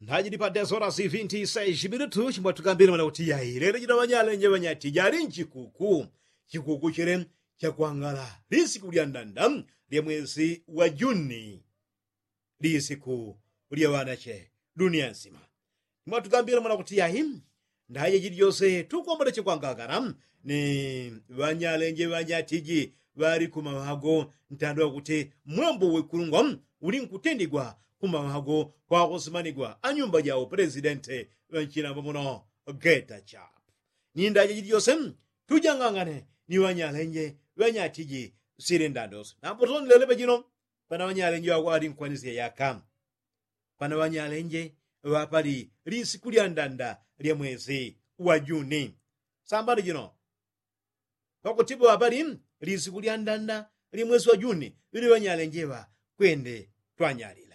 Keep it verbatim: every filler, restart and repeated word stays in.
Nthajili pa desorasi vinti seji minutu chimbwatukambile mwana kuti yai lelo jino ŵanyalenje ŵanyatija ali nchikuku. Chikuku chile chakwangala lisiku lya ndanda lya mwesi wa juni. Lisiku lya ŵanache dunia nsima. Chimbwatukambile mwana kuti yai ndaje jili jose tukwambale chikwangangana ni ŵanyalenje ŵanyatiji ŵali kumaŵago ntando wakuti mwambo wekulungwa uli nkutendigwa kumaŵago kwakusimanigwa anyumba ja upresidente ŵanchilamba muno. Geta chap ni ndaje jili jose tujangangane ni ŵanyalenje ŵanyatiji sili ndandose nambo tonilelepe jino. Pana ŵanyalenje ŵakwali nkwanisya yaka pana ŵanyalenje ŵapali lisiku lya ndanda lya mwesi wa juni. Sambano jino pakutipo ŵapali lisiku lya ndanda lya mwesi wa juni ŵili ŵanyalenje ŵa kwende twanyalile.